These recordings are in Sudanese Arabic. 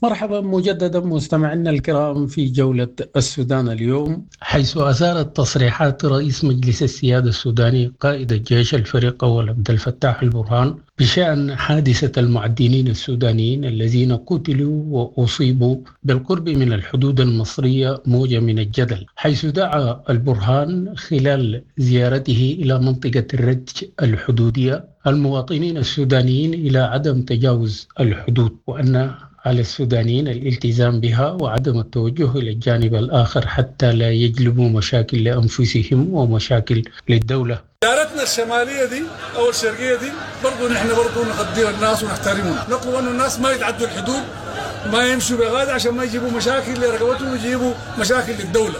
مرحبا مجددا مستمعينا الكرام في جولة السودان اليوم، حيث أثارت تصريحات رئيس مجلس السيادة السوداني قائد الجيش الفريق أول عبد الفتاح البرهان بشأن حادثة المعدنين السودانيين الذين قتلوا وأصيبوا بالقرب من الحدود المصرية موجة من الجدل، حيث دعا البرهان خلال زيارته إلى منطقة الرج الحدودية المواطنين السودانيين إلى عدم تجاوز الحدود، وأن على السودانيين الالتزام بها وعدم التوجه إلى الجانب الآخر حتى لا يجلبوا مشاكل لأنفسهم ومشاكل للدولة. دارتنا الشمالية دي أو الشرقية دي برضو نحن برضو نقدر الناس ونحترمهم، نطلب أن الناس ما يتعدوا الحدود، ما يمشوا بغادة عشان ما يجيبوا مشاكل لرقبتهم ويجيبوا مشاكل للدولة.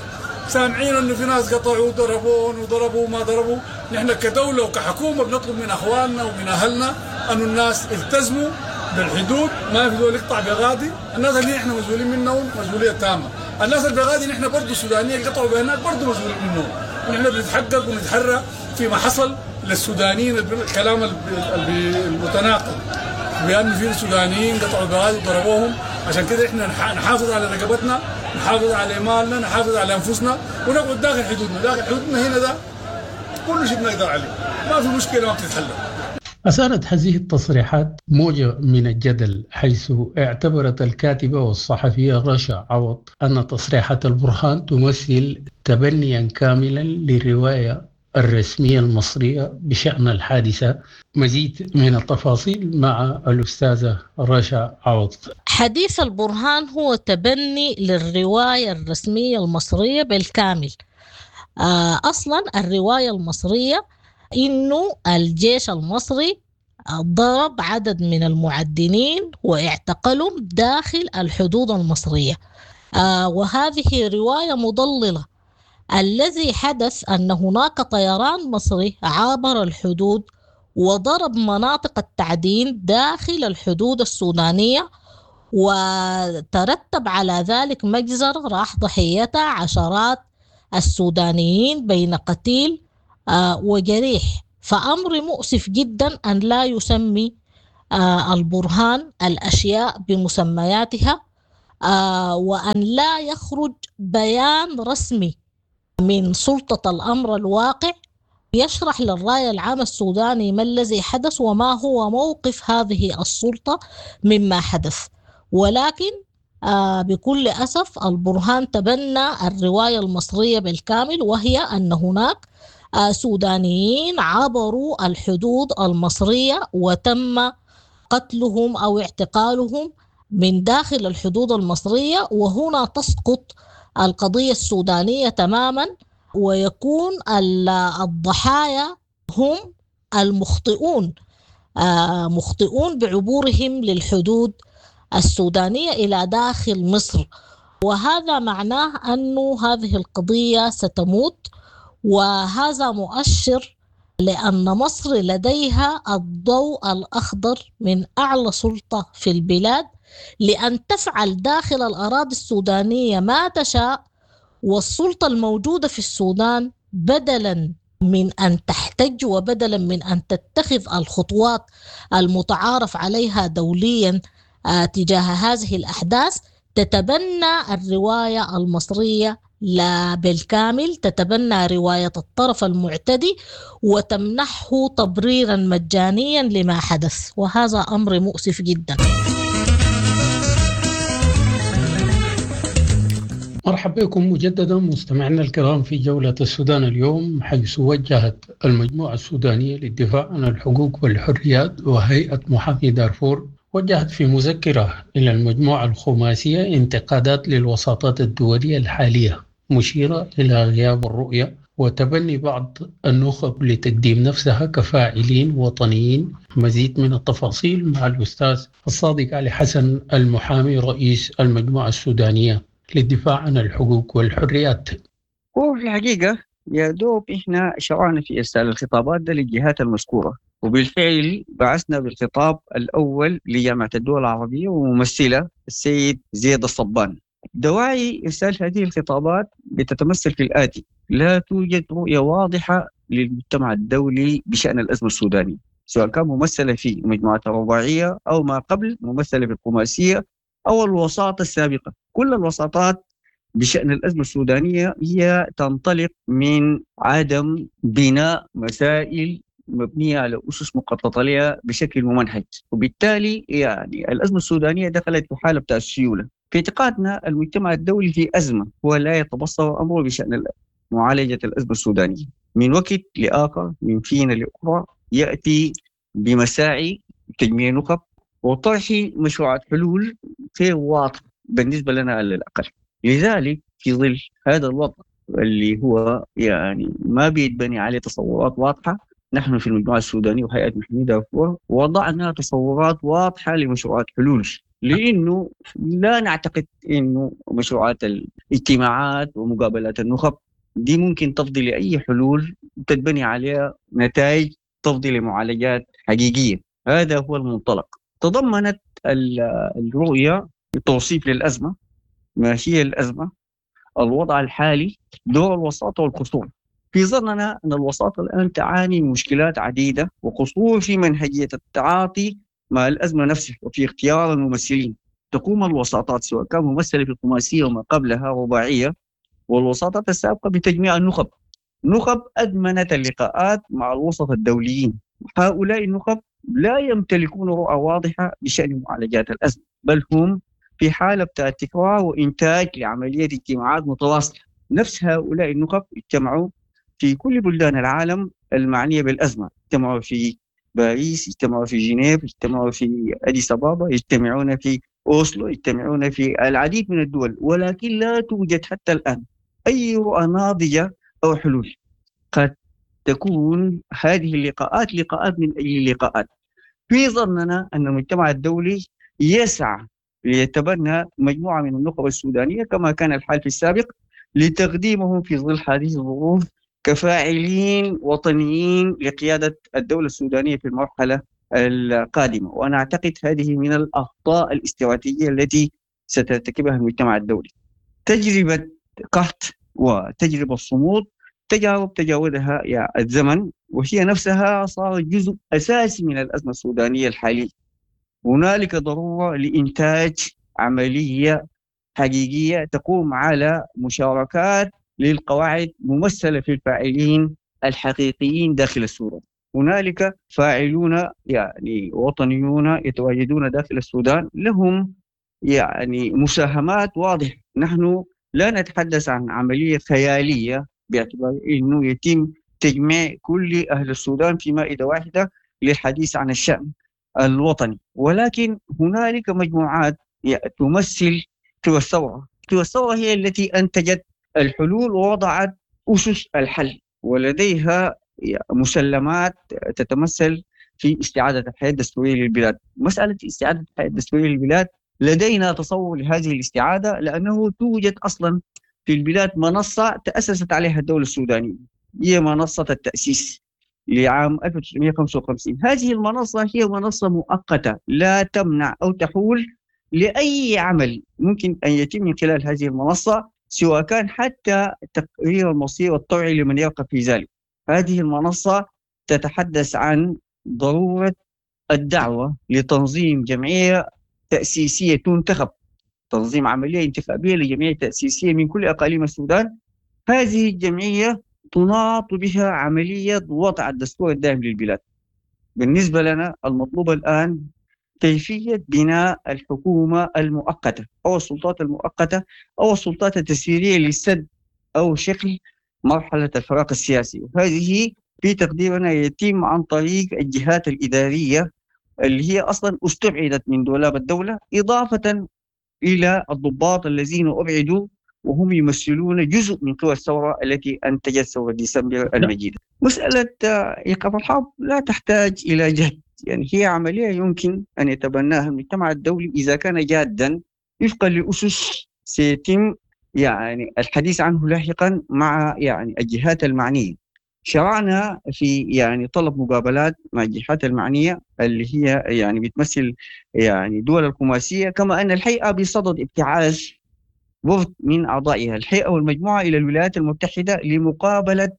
سامعين أنه في ناس قطعوا وضربون وضربوا وما ضربوا. نحن كدولة وكحكومة بنطلب من أخواننا ومن أهلنا أن الناس التزموا بالحدود، ما في زول يقطع بغادي. الناس اللي احنا مسؤولين منهم مسؤولية تامة. الناس اللي بغادي نحن برضو السودانيين اللي قطعوا بهناك برضو مسؤولين منهم، ونحن بنتحقق ونتحرى فيما حصل للسودانيين. الكلام المتناقض بأن في سودانيين قطعوا بغادي وضربوهم، عشان كده احنا نحافظ على رقبتنا، نحافظ على مالنا، نحافظ على انفسنا، ونقعد داخل حدودنا. داخل حدودنا هنا ده كل شيء بنقدر عليه، ما في مشكلة ما بتتحل. أثارت هذه التصريحات موجة من الجدل، حيث اعتبرت الكاتبة والصحفية رشا عوض أن تصريحات البرهان تمثل تبنيا كاملا للرواية الرسمية المصرية بشأن الحادثة. مزيد من التفاصيل مع الأستاذة رشا عوض. حديث البرهان هو تبني للرواية الرسمية المصرية بالكامل. أصلا الرواية المصرية إنه الجيش المصري ضرب عدد من المعدنين واعتقلهم داخل الحدود المصرية، وهذه رواية مضللة. الذي حدث أن هناك طيران مصري عابر الحدود وضرب مناطق التعدين داخل الحدود السودانية، وترتب على ذلك مجزر راح ضحيتها عشرات السودانيين بين قتيل وجريح. فأمر مؤسف جدا أن لا يسمي البرهان الأشياء بمسمياتها، وأن لا يخرج بيان رسمي من سلطة الأمر الواقع يشرح للرأي العام السوداني ما الذي حدث وما هو موقف هذه السلطة مما حدث. ولكن بكل أسف البرهان تبنى الرواية المصرية بالكامل، وهي أن هناك سودانيين عبروا الحدود المصرية وتم قتلهم أو اعتقالهم من داخل الحدود المصرية، وهنا تسقط القضية السودانية تماما، ويكون الضحايا هم المخطئون، مخطئون بعبورهم للحدود السودانية إلى داخل مصر. وهذا معناه أن هذه القضية ستموت، وهذا مؤشر لأن مصر لديها الضوء الأخضر من أعلى سلطة في البلاد لأن تفعل داخل الأراضي السودانية ما تشاء، والسلطة الموجودة في السودان بدلا من أن تحتج وبدلا من أن تتخذ الخطوات المتعارف عليها دوليا تجاه هذه الأحداث، تتبنى الرواية المصرية لا بالكامل، تتبنى رواية الطرف المعتدي وتمنحه تبريرا مجانيا لما حدث، وهذا أمر مؤسف جدا. مرحبا بكم مجددا مستمعينا الكرام في جولة السودان اليوم، حيث وجهت المجموعة السودانية للدفاع عن الحقوق والحريات وهيئة محامي دارفور وجهت في مذكرة إلى المجموعة الخماسية انتقادات للوساطات الدولية الحالية، مشيرة إلى غياب الرؤية وتبني بعض النخب لتقديم نفسها كفاعلين وطنيين. مزيد من التفاصيل مع الأستاذ الصادق علي حسن المحامي رئيس المجموعة السودانية للدفاع عن الحقوق والحريات. هو في الحقيقة يا دوب إحنا شرعنا في إرسال الخطابات ده للجهات المذكورة، وبالفعل بعثنا بالخطاب الأول لجامعة الدول العربية وممثلة السيد زيد الصبان. دواعي إرسال هذه الخطابات بتتمثل في الآتي: لا توجد رؤية واضحة للمجتمع الدولي بشأن الأزمة السودانية، سواء كان ممثلة في المجموعات الرباعية أو ما قبل ممثلة في الخماسية أو الوساطة السابقة. كل الوساطات بشأن الأزمة السودانية هي تنطلق من عدم بناء مسائل مبنية على أسس مخططة لها بشكل ممنهج، وبالتالي يعني الأزمة السودانية دخلت في حالة بتاع السيولة. في اعتقادنا المجتمع الدولي في أزمة، هو لا يتبصر أمره بشأن معالجة الأزمة السودانية. من وقت لآخر، من فينا لأخرى، يأتي بمساعي تجميع نخب وطرح مشروعات حلول غير واضحة بالنسبة لنا على الأقل. لذلك في ظل هذا الوضع اللي هو يعني ما بيتبني عليه تصورات واضحة، نحن في المجموعة السودانية وهيئة محمود دارفور وضعنا تصورات واضحة لمشروعات حلول، لأنه لا نعتقد أنه مشروعات الاجتماعات ومقابلات النخب دي ممكن تفضي لأي حلول تتبني عليها نتائج تفضي لمعالجات حقيقية. هذا هو المنطلق. تضمنت الرؤية توصيف للأزمة، ما هي الأزمة، الوضع الحالي، دور الوساطة والقصور. في ظننا أن الوساطة الآن تعاني من مشكلات عديدة وقصور في منهجية التعاطي مع الأزمة نفسها وفي اختيار الممثلين. تقوم الوساطات سواء كان ممثلة في الخماسية وما قبلها رباعية والوساطات السابقة بتجميع النخب. نخب أدمنت اللقاءات مع الوسط الدوليين. هؤلاء النخب لا يمتلكون رؤى واضحة بشأن معالجات الأزمة، بل هم في حالة بتاع تكرار وإنتاج لعملية اجتماعات متواصلة. نفس هؤلاء النخب اجتمعوا في كل بلدان العالم المعنية بالأزمة، اجتمعوا في باريس، اجتمعوا في جنيف، اجتمعوا في أديس أبابا، يجتمعون في أوسلو، يجتمعون في العديد من الدول، ولكن لا توجد حتى الآن أي رؤى ناضجة أو حلول. قد تكون هذه اللقاءات لقاءات من أجل اللقاءات. في ظننا أن المجتمع الدولي يسعى ليتبنى مجموعة من النخب السودانية كما كان الحال في السابق لتقديمهم في ظل هذه الظروف كفاعلين وطنيين لقيادة الدولة السودانية في المرحلة القادمة. وأنا أعتقد هذه من الأخطاء الاستراتيجية التي سترتكبها المجتمع الدولي. تجربة قحط وتجربة الصمود تجارب تجاوزها الزمن، وهي نفسها صارت جزء أساسي من الأزمة السودانية الحالية. هنالك ضرورة لإنتاج عملية حقيقية تقوم على مشاركات للقواعد ممثلة في الفاعلين الحقيقيين داخل السودان. هنالك فاعلون يعني وطنيون يتواجدون داخل السودان لهم يعني مساهمات واضحة. نحن لا نتحدث عن عملية خيالية باعتبار أنه يتم تجميع كل أهل السودان في مائدة واحدة للحديث عن الشأن الوطني، ولكن هنالك مجموعات تمثل قوى الثورة. قوى الثورة هي التي أنتجت الحلول ووضعت أسس الحل، ولديها مسلمات تتمثل في استعادة الحياة الدستورية للبلاد. مسألة استعادة الحياة الدستورية للبلاد لدينا تصور لهذه الاستعادة، لأنه توجد أصلا في البلاد منصة تأسست عليها الدولة السودانية، هي منصة التأسيس لعام 1955. هذه المنصة هي منصة مؤقتة لا تمنع أو تحول لأي عمل ممكن أن يتم من خلال هذه المنصة، سواء كان حتى تقرير المصير الطوعي لمن يرغب في ذلك. هذه المنصة تتحدث عن ضرورة الدعوة لتنظيم جمعية تأسيسية تنتخب، تنظيم عملية انتخابية لجمعية تأسيسية من كل أقاليم السودان. هذه الجمعية تناط بها عملية وضع الدستور الدائم للبلاد. بالنسبة لنا المطلوب الآن كيفية بناء الحكومة المؤقتة أو السلطات المؤقتة أو السلطات التسييرية للسد أو شكل مرحلة الفراغ السياسي، وهذه في تقديرنا يتم عن طريق الجهات الإدارية اللي هي أصلا استبعدت من دولاب الدولة، إضافة إلى الضباط الذين أبعدوا وهم يمثلون جزء من قوى الثورة التي أنتجت ثورة ديسمبر المجيدة. مسألة إيقاف الحرب لا تحتاج إلى جهد، يعني هي عملية يمكن أن يتبناها المجتمع الدولي إذا كان جادا وفقا لأسس سيتم يعني الحديث عنه لاحقا مع يعني الجهات المعنية. شرعنا في يعني طلب مقابلات مع الجهات المعنية اللي هي يعني بتمثل يعني دول الخماسية، كما أن الهيئة بصدد ابتعاث وفد من أعضائها الهيئة والمجموعة إلى الولايات المتحدة لمقابلة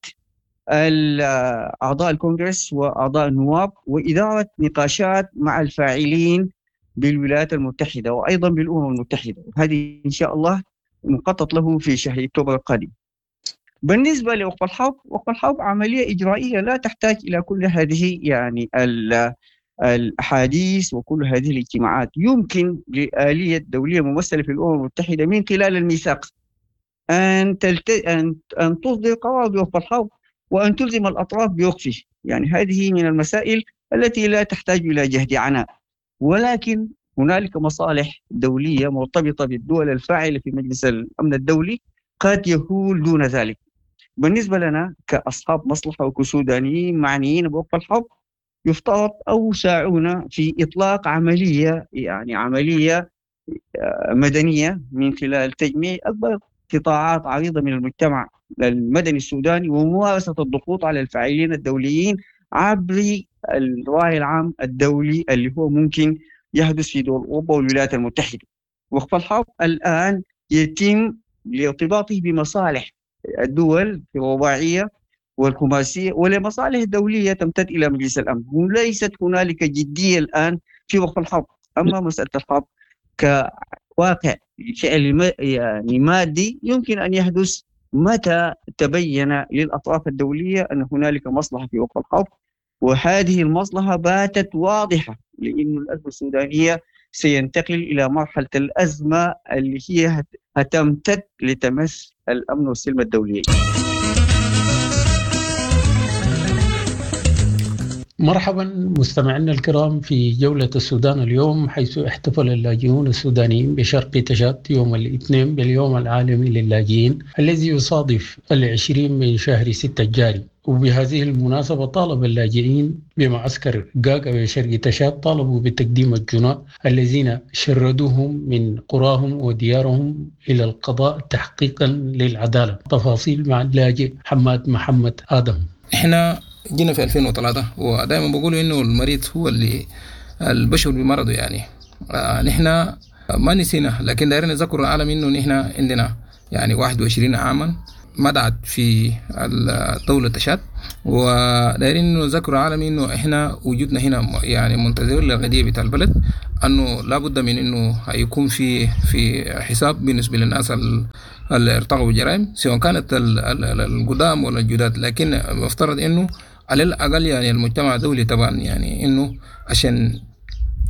أعضاء الكونغرس وأعضاء النواب وإدارة نقاشات مع الفاعلين بالولايات المتحدة وأيضا بالأمم المتحدة، وهذه إن شاء الله مخطط له في شهر أكتوبر القادم. بالنسبة لوقف الحرب، وقف الحرب عملية إجرائية لا تحتاج إلى كل هذه يعني الأحاديث وكل هذه الاجتماعات. يمكن لآلية دولية ممثلة في الأمم المتحدة من خلال الميثاق أن تصدر قرار بوقف الحرب وأن تلزم الأطراف بوقفه. يعني هذه من المسائل التي لا تحتاج إلى جهد عناء، ولكن هنالك مصالح دولية مرتبطة بالدول الفاعلة في مجلس الأمن الدولي قد يهول دون ذلك. بالنسبة لنا كأصحاب مصلحة وكسودانيين معنيين بوقف الحرب، يفترض أو ساعونا في إطلاق عملية، يعني عملية مدنية من خلال تجميع أكبر قطاعات عريضة من المجتمع المدني السوداني وممارسة الضغوط على الفاعلين الدوليين عبر الرأي العام الدولي اللي هو ممكن يحدث في دول أوروبا والولايات المتحدة. وقف الحرب الآن يتم لارتباطه بمصالح الدول في الرباعية والخماسية ولمصالح دولية تمتد إلى مجلس الأمن، وليست هنالك جدية الآن في وقف الحرب. أما مسألة الحرب كواقع فعل يعني مادي يمكن أن يحدث متى تبين للأطراف الدولية أن هنالك مصلحة في وقف الحرب، وهذه المصلحة باتت واضحة لأن الأزمة السودانية سينتقل إلى مرحلة الأزمة اللي هي هتمتد لتمس الأمن والسلم الدولي. مرحبا مستمعينا الكرام في جولة السودان اليوم، حيث احتفل اللاجئون السودانيين بشرق تشاد يوم الاثنين باليوم العالمي للاجئين الذي يصادف 20 من شهر 6 الجاري. وبهذه المناسبة طالب اللاجئين بمعسكر غاغا بشرق تشاد طالبوا بتقديم الجناة الذين شردوهم من قراهم وديارهم إلى القضاء تحقيقا للعدالة. تفاصيل مع اللاجئ حماد محمد آدم. احنا جينا في 2003، ودائما بقولوا انه المريض هو اللي البشر بمرضه، يعني نحن ما نسينا، لكن دايرين نذكر العالم انه نحن عندنا يعني 21 عاما مدعت في دولة تشاد، ودايرين نذكر العالم انه احنا وجودنا هنا يعني منتظرين للقضية بتاع البلد، انه لابد من انه هيكون في حساب بالنسبة للناس اللي ارتكبوا جرائم سواء كانت القدام ولا الجداد، لكن مفترض انه على الاقل يعني المجتمع الدولي طبعا يعني انه عشان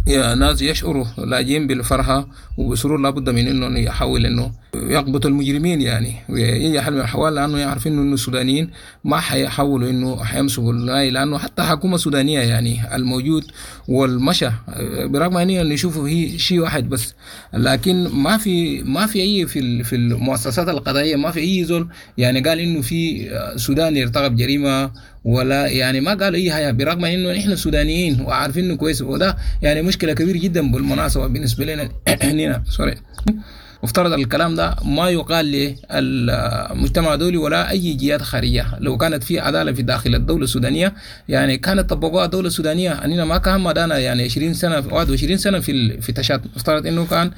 يا ناس يشعروا لاجئين بالفرحة وبسرور لابد من انه يحاول انه يقبض المجرمين، يعني ويجي حل من الأحوال، لانه يعرف انه السودانيين ما حيحاولوا انه حيمسكوا الناي، لانه حتى حكومة سودانية يعني الموجود والمشى برغم ان نشوفه هي شيء واحد بس، لكن ما في اي في المؤسسات القضائية ما في اي زول يعني قال انه في سوداني ارتكب جريمة ولا يعني ما قال اي حاجة، برغم انه نحن سودانيين وعارفين انه كويس، وده يعني مشكلة كبيرة جدا بالمناسبة بالنسبة لنا هنا سوري. افترض الكلام ده ما يقال للمجتمع الدولي ولا اي جهات خارجية، لو كانت في عدالة في داخل الدولة السودانية يعني كانت طبقوها الدولة السودانية، اننا ما كان مدانا يعني 20 سنة 21 سنة في تشاد، افترض انه كان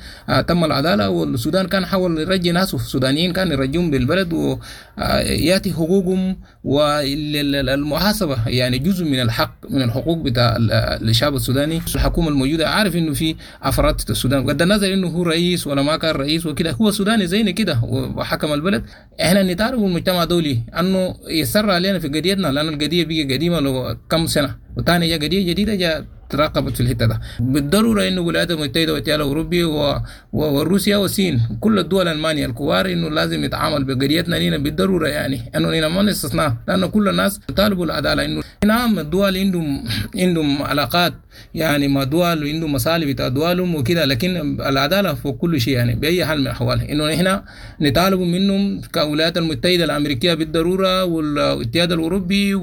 تم العدالة والسودان كان حاول يرجي ناسه السودانيين كان يرجيهم بالبلد وياتي حقوقهم والمحاسبه، يعني جزء من الحق من الحقوق بتاع الشعب السوداني. الحكومة الموجودة عارف انه في افراد في السودان بغض النظر انه هو رئيس ولا ما كان رئيس وكده، هو سوداني زينا كده وحكم البلد. احنا نتعرف المجتمع الدولي انه يسر علينا في قضيتنا، لان القضية بقى قديمة لو كم سنة، وثاني جاء قضية جديدة جاء تراقبت في الحتة ده. بالضرورة انه الولايات المتحدة والاتحاد الاوروبي وروسيا والصين كل الدول الالمانية الكبار انه لازم يتعامل بقضيتنا لينا بالضرورة، يعني انه لنا ما نستثناء، لانه كل الناس طالبوا العدالة. انه نعم الدول عندهم علاقات يعني مع دول وعندهم مصالح بتاع دولهم وكده، لكن العدالة فوق كل شيء يعني باي حال من الاحوال. انه نحن نطالب منهم كولايات المتحدة الامريكية بالضرورة والاتحاد الاوروبي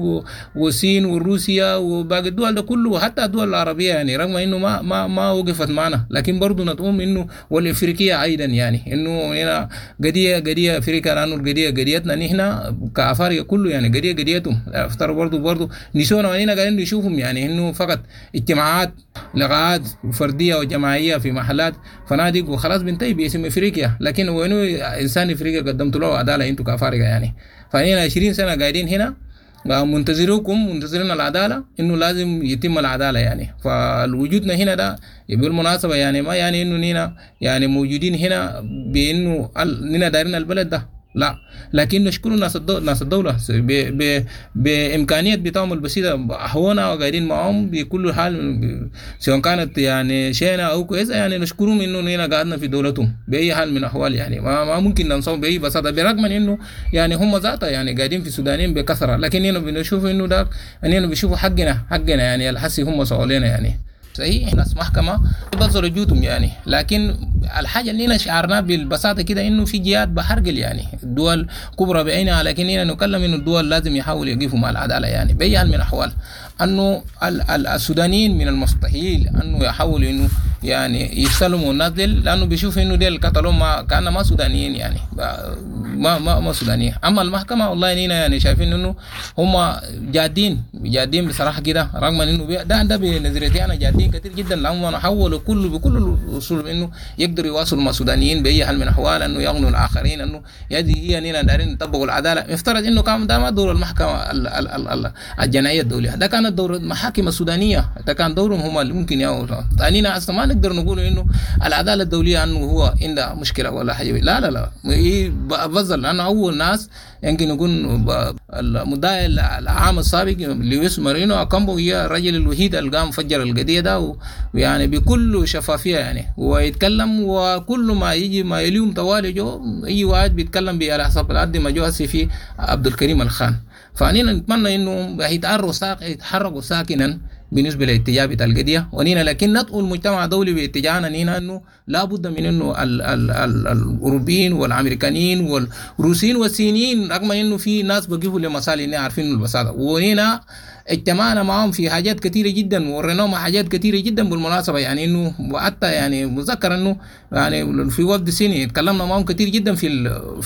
والصين وروسيا وباقي الدول ده كله، وحتى الدول العربية يعني رغم انه ما ما ما وقفت معنا، لكن برضه نتقوم انه والافريقيه ايضا يعني انه هنا قضية افريقيا، لانه القضية قضيتنا نحن كافارقه كله يعني قضية قضيتهم. افترض برضه نسونا وعلينا قاعدين نشوفهم يعني انه فقط اجتماعات لقاءات فردية وجماعيه في محلات فنادق وخلاص بنتهي باسم افريقيا، لكن وينه انسان افريقيا قدمت له عدالة انتم كافارقه يعني. فهنا 20 سنة قاعدين هنا منتظروكم، منتظرين العدالة، انه لازم يتم العدالة يعني. فالوجودنا هنا ده بالمناسبة يعني ما يعني انه نينا يعني موجودين هنا بانه نينا دايرين البلد ده، لا، لكن نشكر ناس الدولة بإمكانية بتاعهم البسيطة هونا وقاعدين معهم بكل حال، سواء كانت يعني شينة أو كويسة، يعني نشكرهم إنه نينا قاعدنا في دولتهم بأي حال من الأحوال يعني. ما ممكن ننصهم بأي بساطة، برغم من إنه يعني هم ذاتها يعني قاعدين في السودانيين بكثرة، لكن نينا بنشوف إنه ده نينا بنشوفوا حقنا يعني الحسي هم سؤالنا يعني. صحيح ناس محكمة بذلوا جهدهم يعني، لكن الحاجة اللي شعرنا بالبساطة كده إنه في جهات بحرقل يعني الدول كبرى بعينها، لكن هنا نتكلم إنه الدول لازم يحاولوا يقفوا مع العدالة يعني بأي حال من الأحوال. أنه السودانيين من المستحيل أنه يحاولوا إنه يعني يسلموا الناس ديل، لأنه بيشوف إنه ديل قتلوا ما كان ما سودانيين يعني ما ما ما سودانيين. أما المحكمة والله نينا يعني شايفين إنه هم جادين بصراحة كده، رغم إنه ده بنظريتي أنا جادين كثير جدا، لأنهم حولوا كله بكل الأصول إنه يقدروا يواصلوا مع السودانيين بأي حال من الأحوال، إنه يغنوا الآخرين، إنه يدي هي نينا دارين يطبقوا العدالة. يفترض إنه كان ده ما دور المحكمة الجنائية الدولية، ده كان دور المحاكم السودانية، ده كان دورهم هم اللي ممكن ياخذوا. ثانينا أصلا ما نقدر نقول إنه العدالة الدولية إنه هو عنده مشكلة ولا حاجة، لا لا لا، بفضل لأنه أول ناس يمكن يكون المدعي العام السابق لويس مارينو أكامبو هي الرجل الوحيد اللي قام فجر القضية ده، ويعني بكل شفافية يعني ويتكلم، وكل ما يجي ما يليهم طوالي جو أي واحد بيتكلم على حسب العد ما جو هسي في عبد الكريم الخان. فأنينا نتمنى إنه يتحركوا ساكنا بالنسبة لاتجاه بتاع القضية ونينا، لكن ندعو المجتمع الدولي باتجاهنا نينا إنه لابد من إنه الأوروبيين والأمريكانيين والروسيين والصينيين، رغم إنه في ناس بقفوا لمصالح إنه عارفين البساطة، ونينا اجتمعنا معهم في حاجات كثيرة جدا ووريناهم حاجات كثيرة جدا بالمناسبة يعني، إنه وحتى يعني مذكر إنه يعني في وفد صيني اتكلمنا معهم كثير جدا في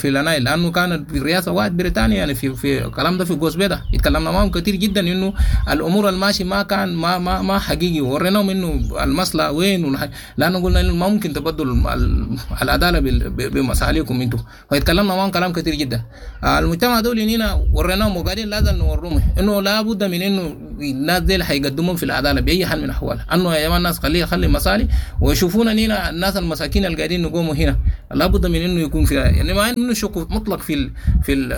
النايل، لأنه كانت في الرئاسة واحد بريطانيا يعني في الكلام ده في غوسبيدا، اتكلمنا معهم كثير جدا إنه الأمور الماشي ما كان ما ما ما حقيقي، وريناهم إنه المصلحة وين، لأنه قلنا إنه ما ممكن تبدلوا العدالة بمصالحكم أنتم، فاتكلمنا معهم كلام كثير جدا. المجتمع الدولي هنا وريناهم وقاعدين لازم نوريهم إنه لابد من إنه الناس دي حيقدمون في العدالة باي حال من الاحوال، انه يا جماعة الناس خلي مصالح ويشوفونا هنا الناس المساكين اللي قاعدين نقوموا هنا، لابد من انه يكون في يعني ما انه شك مطلق في ال في ال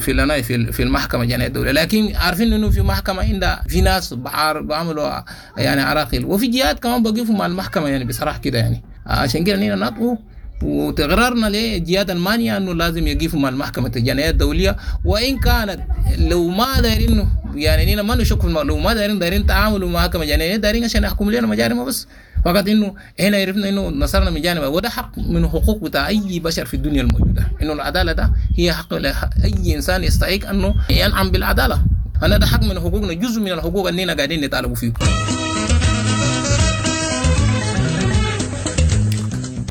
في ال في, في المحكمة الجنائية الدولية، لكن عارفين انه في محكمة عندها في ناس بعملوا يعني عراقيل، وفي جهات كمان بقفوا مع المحكمة يعني بصراحة كده يعني. عشان كده هنا نطقوا وتقررنا لجهات المانيا انه لازم يقفوا مع المحكمة الجنائية الدولية، وان كانت لو ما دايرين يعني نينا ما نشك في لو ما دايرين تعاملوا مع المحكمة الجنائية، دايرين عشان يحكموا لنا مجارم بس فقط، انه هنا عرفنا انه نصرنا من جانب، وده حق من حقوق بتاع اي بشر في الدنيا الموجودة، انه العدالة ده هي حق اي انسان يستحق انه ينعم بالعدالة. انا ده حق من حقوقنا، جزء من الحقوق اللي قاعدين نطالبوا فيه.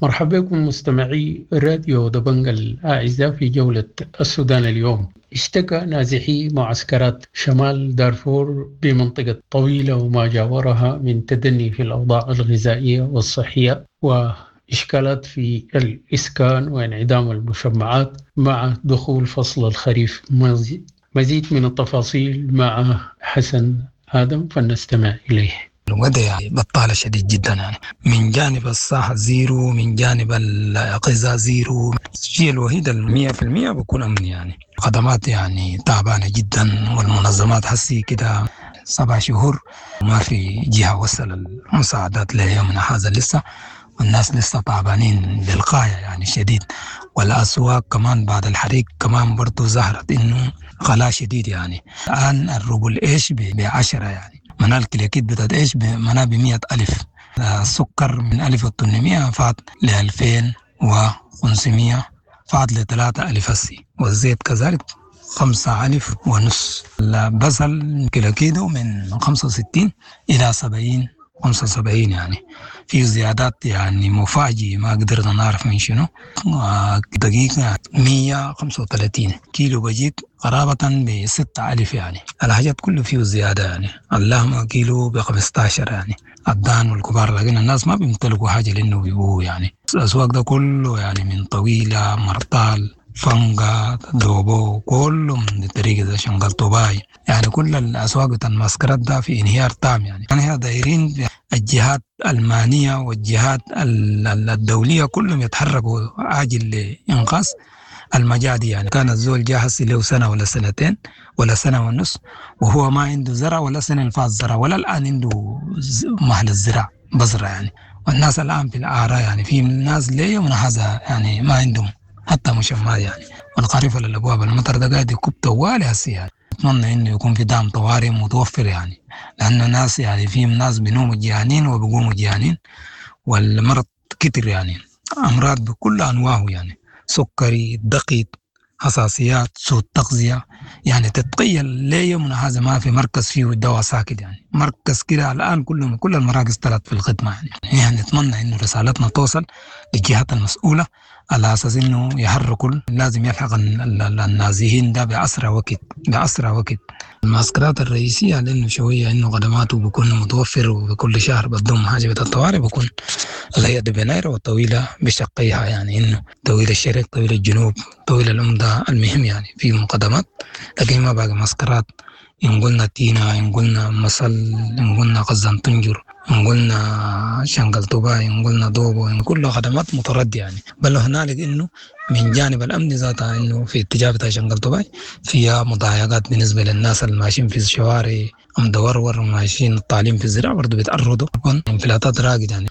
مرحبا بكم مستمعي راديو دبنج الأعزاء في جولة السودان اليوم. اشتكى نازحي معسكرات شمال دارفور بمنطقة طويلة وما جاورها من تدني في الأوضاع الغذائية والصحية وإشكالات في الإسكان وانعدام المشمعات مع دخول فصل الخريف. مزيد من التفاصيل مع حسن آدم، فلنستمع إليه. الوضع يعني بطالة شديد جدا يعني، من جانب الصحة zero، من جانب الغذاء zero، الشيء الوحيد 100% بكون أمن يعني. خدمات يعني تعبانة جدا، والمنظمات حسي كده 7 شهور ما في جهة وصل المساعدات ليومنا هذا لسه، والناس لسه تعبانين للغاية يعني شديد. والأسواق كمان بعد الحريق كمان برضو ظهرت إنه غلاء شديد يعني. الآن الروبل إيش ب10 يعني، منال الكليكيت بتاعت ايش منا ب100,000، السكر من 1800 فات ل 2500 فات ل 3000 هسي، والزيت كذلك 5,500، البصل كيلو من 65 إلى 70 75 يعني، في زيادات يعني مفاجئة ما قدرنا نعرف من شنو. دقيقة 135 كيلو بجيك قرابة ب6,000 يعني، الحاجات كله فيه زيادة يعني. اللحمة كيلو ب15 يعني، الدان والكبار، لكن الناس ما بيمتلكوا حاجة لأنه بيبوه يعني. الأسواق ده كله يعني من طويلة مرطال فنقا، دوبو، كلهم بالطريقة ده، شنقل طوباي، يعني كل الأسواق بتاع المعسكرات ده في انهيار تام. يعني نحن دايرين الجهات المعنية والجهات الدولية كلهم يتحركوا عاجل لإنقاذ المجاعة دي. يعني كان الزول جاهز له سنة ولا سنتين ولا سنة ونص وهو ما عنده زرع ولا سنة الفاز زرع ولا الآن عنده محل الزراعة بزرع يعني. والناس الآن في الأعراء، يعني في ناس ليه من هذا يعني ما عندهم حتى مشمات يعني. والخريف على الأبواب، المطر ده قاعد يكب طوالي هسي يعني. أتمنى إنه يكون في دعم طوارئ متوفر يعني، لأنه ناس يعني في ناس بينوموا جيعانين وبيقوموا جيعانين، والمرض كتر يعني، أمراض بكل أنواعه يعني، سكري، ضغط، حساسيات، سوء تغذية. يعني تتخيل ليه يومنا هذا ما في مركز فيه الدواء ساكت يعني، مركز كده الآن كل المراكز طلعت في الخدمة يعني. يعني نتمنى إنه رسالتنا توصل للجهات المسؤولة على أساس إنه يحركوا، لازم يلحق النازحين ده بأسرع وقت، بأسرع وقت. المعسكرات الرئيسية لأنه شوية إنه خدماته بيكون متوفر، وبكل شهر بدهم حاجة بتاع الطوارئ بيكون اللي هي دبناير والطويلة بشقيها، يعني إنه طويل الشرق، طويل الجنوب، طويل الأمدة، المهم يعني في مقدمات. لكن ما باقي معسكرات، إن قلنا تينا، إن قلنا مصل، إن قلنا قزان طنجر، إن قلنا شنقل طوباي، إن قلنا دوبو، إن كل خدمات متردية يعني. بل هنالك إنه من جانب الأمن ذاتها إنه في اتجاه بتاع شنقل طوباي فيها مضايقات بالنسبة للناس الماشيين في الشوارع، أم دورور وماشيين التعليم في الزراعة برضو بيتعرضوا، بيكون انفلاتات راقد يعني.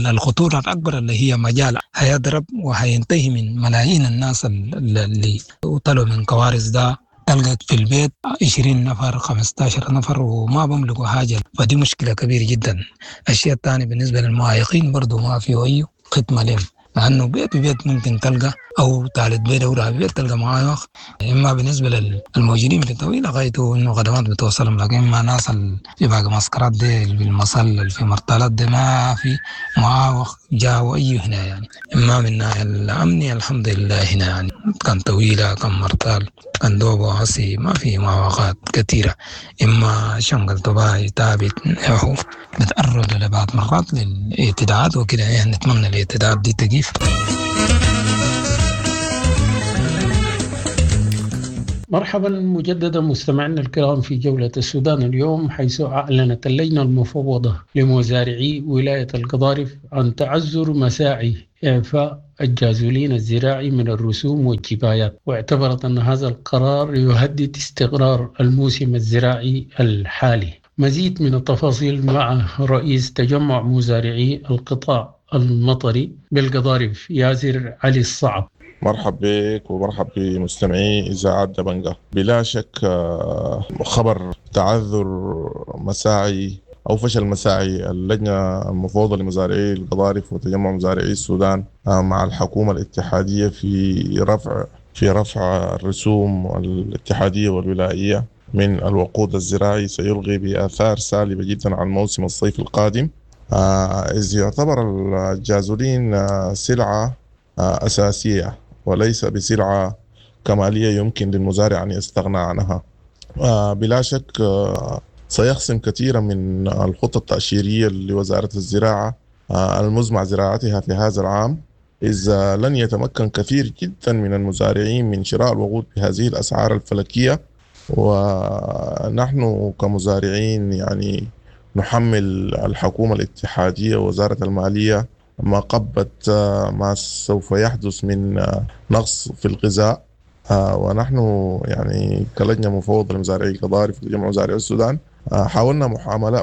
الخطورة الأكبر اللي هي مجال هيضرب وهينتهي من ملايين الناس اللي طلعوا من كوارث ده. تلقى في البيت 20 نفر 15 نفر وما بملكوا حاجة، فدي مشكلة كبيرة جدا. الشيء الثاني بالنسبة للمعيقين برضو ما في أي خدمة لهم، مع أنه بيت بيت ممكن تلقى أو ثالث بيت أو رابع بيت تلقى معايق. إما بالنسبة للموجودين في الطويلة غايته إنه خدمات بتوصلهم، لكن ما ناس في باقي معسكرات دي بالمصل في مرتلات دي ما في معاوق جاوا أي هنا يعني. إما من ناحية الأمنية الحمد لله هنا يعني كان طويلة، كان مرتال، كان دوبو عصي، ما في معوقات كثيرة. إما شنقل طباعي تابت ياهو بتعرض لبعض مرات للاعتداءات وكده، يعني نتمنى الاعتداءات دي تقيف. مرحبا مجددا مستمعينا الكرام في جولة السودان اليوم، حيث أعلنت اللجنة المفوضة لمزارعي ولاية القضارف عن تعذر مساعي إعفاء الجازولين الزراعي من الرسوم والجبايات، واعتبرت أن هذا القرار يهدد استقرار الموسم الزراعي الحالي. مزيد من التفاصيل مع رئيس تجمع مزارعي القطاع المطري بالقضارف ياسر علي الصعب. مرحب بك ومرحب بمستمعي إذاعة دبنجة. بلا شك خبر تعذر مساعي أو فشل مساعي اللجنة المفوضة لمزارعي القضارف وتجمع مزارعي السودان مع الحكومة الاتحادية في رفع الرسوم الاتحادية والولائية من الوقود الزراعي سيلغي بآثار سالبة جدا على الموسم الصيفي القادم، إذ يعتبر الجازولين سلعة أساسية وليس بسلعة كمالية يمكن للمزارع أن يستغنى عنها. بلا شك سيخصم كثيرا من الخطة التأشيرية لوزارة الزراعة المزمع زراعتها في هذا العام، إذ لن يتمكن كثير جدا من المزارعين من شراء الوقود بهذه الأسعار الفلكية. ونحن كمزارعين يعني نحمل الحكومة الاتحادية ووزارة المالية ما قبت ما سوف يحدث من نقص في الغذاء. ونحن يعني كلجنة مفوضة لمزارعي القضارف وتجمع مزارعي السودان حاولنا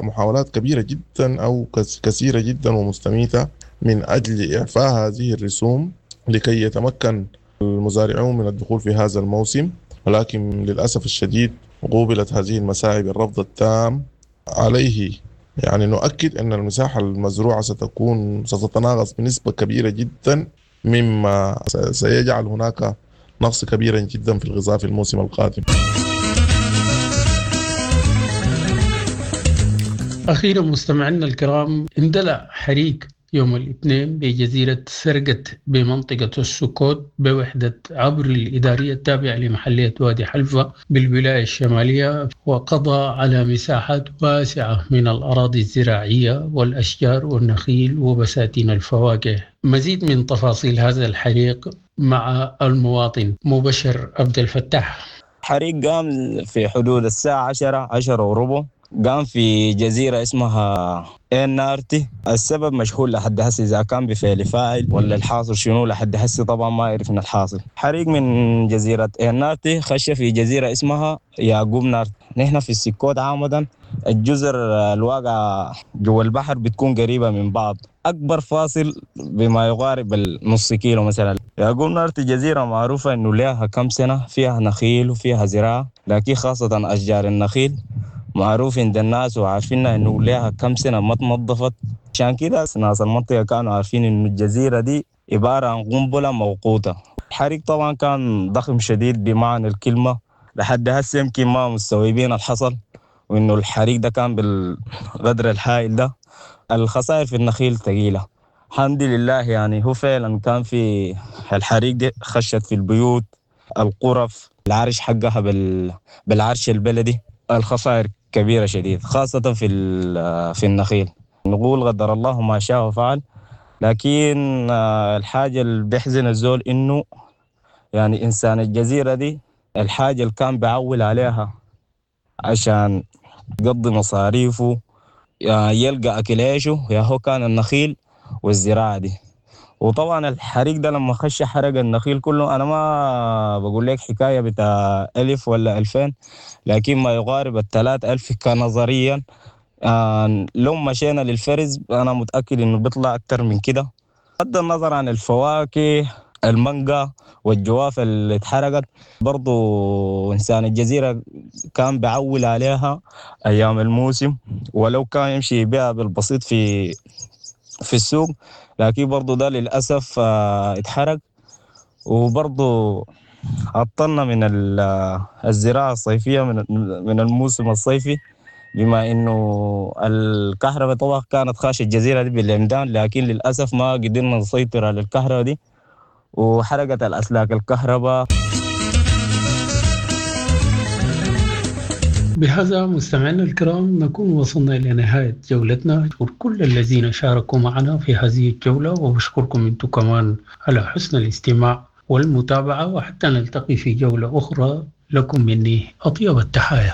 محاولات كبيرة جدا أو كثيرة جدا ومستميتة من أجل إعفاء هذه الرسوم لكي يتمكن المزارعون من الدخول في هذا الموسم، ولكن للأسف الشديد قوبلت هذه المساعي بالرفض التام. عليه يعني نؤكد أن المساحة المزروعة ستتناقص بنسبة كبيرة جدا، مما سيجعل هناك نقص كبيرا جدا في الغذاء في الموسم القادم. أخيرا مستمعينا الكرام، اندلع حريق يوم الاثنين بجزيرة سرقت بمنطقة السكوت بوحدة عبر الإدارية التابعة لمحلية وادي حلفة بالولاية الشمالية، وقضى على مساحات واسعة من الأراضي الزراعية والأشجار والنخيل وبساتين الفواكه. مزيد من تفاصيل هذا الحريق مع المواطن مبشر عبد الفتاح. حريق قام في حدود الساعة 10 10:15، قام في جزيرة اسمها نارتي. السبب مجهول لحد هسه، إذا كان بفعل فاعل ولا الحاصل شنو لحد هسه طبعا ما عرفنا الحاصل. حريق من جزيرة نارتي خش في جزيرة اسمها يعقوب نارتي. نحن في السكوت عامة الجزر الواقعة جوا البحر بتكون قريبة من بعض، أكبر فاصل بما يقارب النص كيلو مثلا. يعقوب نارتي جزيرة معروفة إنه لها كم سنة فيها نخيل وفيها زراعة، لكن خاصة أشجار النخيل معروف عند الناس وعارفينها إنه لها كم سنة ما تنظفت. عشان كده ناس المنطقة كانوا عارفين إنه الجزيرة دي عبارة عن قنبلة موقوتة. الحريق طبعا كان ضخم شديد بمعنى الكلمة، لحد هسه يمكن ما مستوعبين الحصل وإنه الحريق ده كان بالغدر الهائل ده. الخسائر في النخيل ثقيلة الحمد لله، يعني هو فعلا كان في الحريق دي خشت في البيوت، الغرف، العرش حقها بالعرش البلدي. الخسائر كبيرة شديد خاصة في النخيل. نقول قدر الله ما شاء وفعل، لكن الحاجة اللي بيحزن الزول إنه يعني إنسان الجزيرة دي الحاجة اللي كان بعول عليها عشان يقضي مصاريفه يلقى أكل عيشه يا هو كان النخيل والزراعة دي. وطبعا الحريق ده لما خش حرق النخيل كله، أنا ما بقول لك حكاية بتاع 1000 ولا 2000، لكن ما يقارب 3000 كنظريا. لو مشينا للفرز أنا متأكد إنه بيطلع أكتر من كده، بغض النظر عن الفواكه المانجا والجوافة اللي اتحرقت. برضو إنسان الجزيرة كان بعول عليها أيام الموسم، ولو كان يمشي يبيعها بالبسيط في السوق، لكن برضو ده للأسف اتحرق. وبرضو عطلنا من الزراعة الصيفية من الموسم الصيفي، بما إنه الكهرباء طبعا كانت خاشة الجزيرة دي بالعمدان، لكن للأسف ما قدرنا نسيطر على الكهرباء دي وحرقت الأسلاك الكهرباء. بهذا مستمعينا الكرام نكون وصلنا إلى نهاية جولتنا. أشكر كل الذين شاركوا معنا في هذه الجولة، وبشكركم أنتم كمان على حسن الاستماع والمتابعة، وحتى نلتقي في جولة أخرى. لكم مني أطيب التحايا.